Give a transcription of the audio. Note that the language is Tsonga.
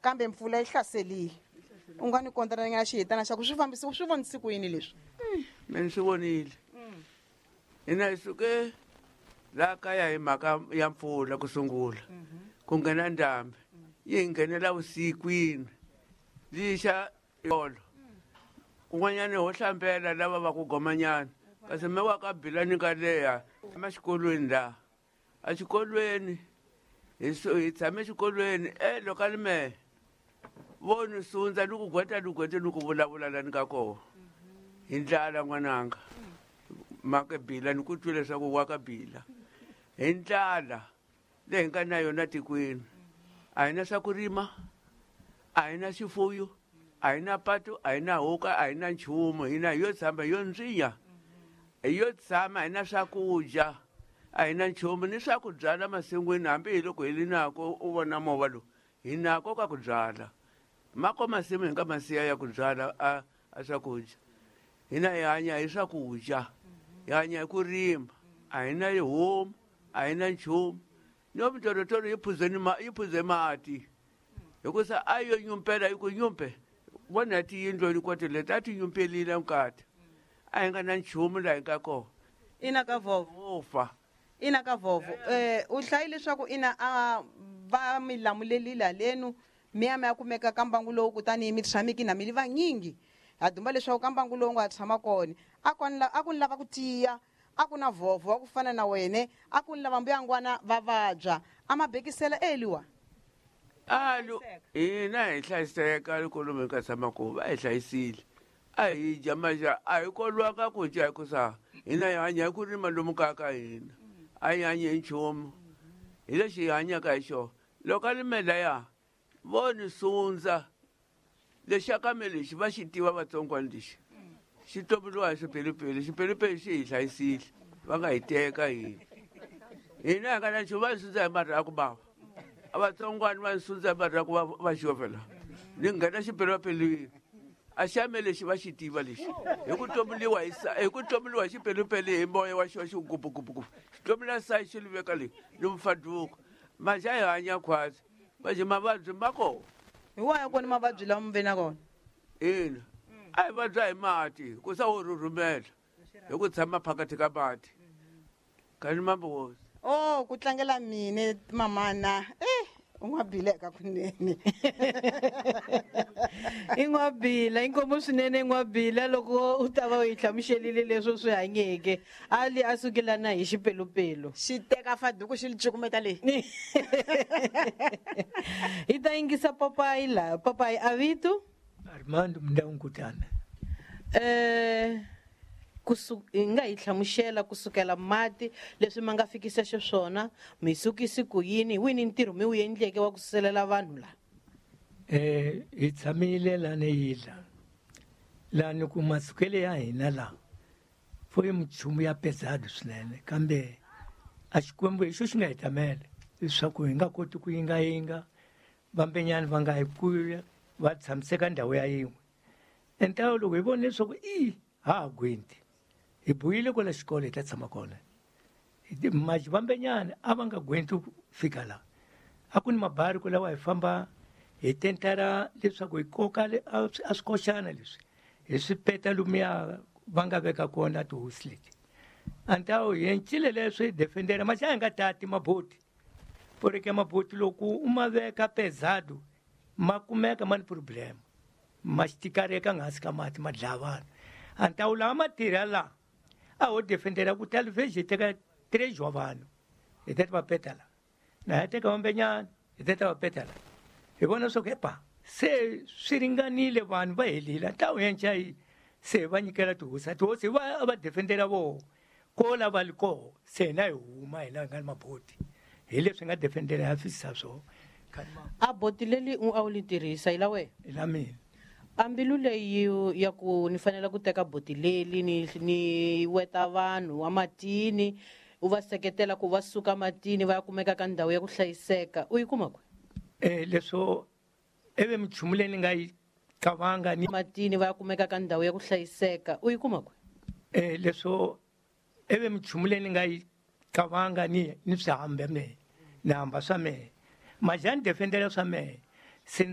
Kambe mpfula yi hlaselile. U nga ni kontranyana xihitana xa ku swi fambisi swi vonisi ku yini leswi? Mina ni swi vonile. Hina hi suke laha kaya hi mhaka ya mpfula ku sungula. Ku nghena ndhambi. Yi hi nghenela vusikwini. Lixa tolo. Kun'wanyana ho hlambela lava va ku gomanyana. Kasi me wa ka Bilani ka leya emaxikolweni laha. Exikolweni hi hi tshame exikolweni e loko a ni mehe vo ni sundza ni ku gweta ni gwete ni ku vulavula la ni ka koho hi ndlala n'wananga maka bila ni ku twi leswaku wa ka bila hi ndlala leyi hi nga na yona tikweni a hi na swa ku rima a hi na xifuyo a hi na patu a hi na huka a hi na nchumu hina hi yo tshama hi yo ndzinya hi yo tshama hi na swakudya a hi na nchumu ni swa ku byala masin'wini hambi hi loko hi li nako u vona movha lowu hi nako ka ku byala mako masimu hi nga masiya ya ku byala a a swakudya hina hi hanya hi swakudya hi hanya hi ku rima a hi na homu a hi na nchumu no mitorotoro yi phuzeni ma yi phuze mati hikusa a yo nyumpela yi ku nyumpe vona tiyindlu hinkwato leti a ti nyumpelile nkati a hi nga na nchumu laha hi nga kona Ina ka vovo. Wo fa. Ina ka vovo. U hlayi leswaku ina a va mi lamulelile halenu mi ya mi ya kumeka ka mbangu lowu kutani mi tshamiki na mi li vanyingi. Ha dumba leswaku ka mbangu lowu nga tshama kona a ku a ku ni lava ku tiya a ku na vovo wa ku fana na wene a ku ni lava mbuyangwana va vabya a ma bekisela eliwa. Alu hina hi hlayiseka loko lomu hi nga tshama kona va hi hlayisile a hi dya maxa a hi kolwanga ku dya hikusa hina hi hanya hi ku rima lomu kaya ka hina a hi hanyi hi nchumu hi lexi hi hanyaka hi xona loko a lime laya vo ni sundza lexi ka me lexi va xi tiva vatsongwana lexi xi tomboliwa hi swipelupelu xipelupelu xi hi hlayisile va nga hi teka hina hina hi nga na nchumu va hi sundza hi marhaku bava a vatsongwana va sundza hi marhaku va va xovela ni nghena xipelupelwini a xa me lexi va xi tiva lexi hi ku tomboliwa hi hi ku tomboliwa hi xipelupelu hi moya wa xona xi gupugupugupu xi tombula sayi xi li veka leyi ni mfaduko maxa hi hanya khwatsi manje mavabyi ma kona hi wahi kona mavabyi lawa mi ve na kona ina a hi vabya hi mati ku sa wo rhurhumela hi ku tshama phakathi ka mati kani mambozi Oh ku tlangela mine mamana eh u nga bileka kunene i n'wabila inkomu swinene n'wabila loko u ta va u yi hlamuselile leswi u swi hanyeke ali a sukelana hi xipelupelu xi teka faduku xi li cukumeta leyi hi ta yingisa papayi laha papayi a vito Armando Mndawunkutana hi nga hi hlamusela kusukela mati leswi ma nga fikisa xiswona mi sukisi ku yini hi wini ntirho mi wu endleke wa ku suselela vanhu laha hi tshamile lani yila lani ku masukele ya hina la fo i minchumu ya pesado swinene kambe a xikwembu hi xo xi nga hi tamela leswaku hi nga koti ku yingayinga vambenyani va nga hi kuya va tshamiseka ndhawu ya yin'we entawo loko hi vona leswaku i ha ha gwinti hi buyile kwala xikolo hi ta tshama kona maji vambenyani a va nga gwinti ku fika laha a ku ni mabari ku lawa hi famba hi tentara leswaku hi koka a swi koxana leswi hi swi peta lomuya va nga veka kona tihosi leti antawo hi encile leswi hi defendera maxa hi nga tati maboti porque maboti loko u ma veka pesado ma kumeka ma ni problem ma xikareka hansi ka mati ma dlaya vanhu antawu lawa ma tirha laha a ho defendera ku talvez hi teka três wa vanhu hi teta va peta la na hi teka vambenyana hi teta va peta la hi vona swa ku epa se swi ringanile vanhu va helile ntawu yenca yi se va nyikela tihosi tihosi va va defendera voho ko lava li koho se hina hi huma hina hi nga ni maboti hi leswi nga defendela ya fisisa swona a boti leri u a wu li tirhisa hi la wena hi la mina a mbilu leyi ya ku ni fanele ku teka boti leri ni ni weta vanhu wa matini u va seketela ku va suka matini va ya kumeka ka ndhawu ya ku hlayiseka u yi kuma kwi leswo ivi minchumu leyi ni nga yi qavanga ni matini va ya kumeka ka ndhawu ya ku hlayiseka u yi kuma kwi leswo ivi minchumu leyi ni nga yi qavanga ni ni swi hambe mehe ni hamba swa mehe maja ni defendela swa mehe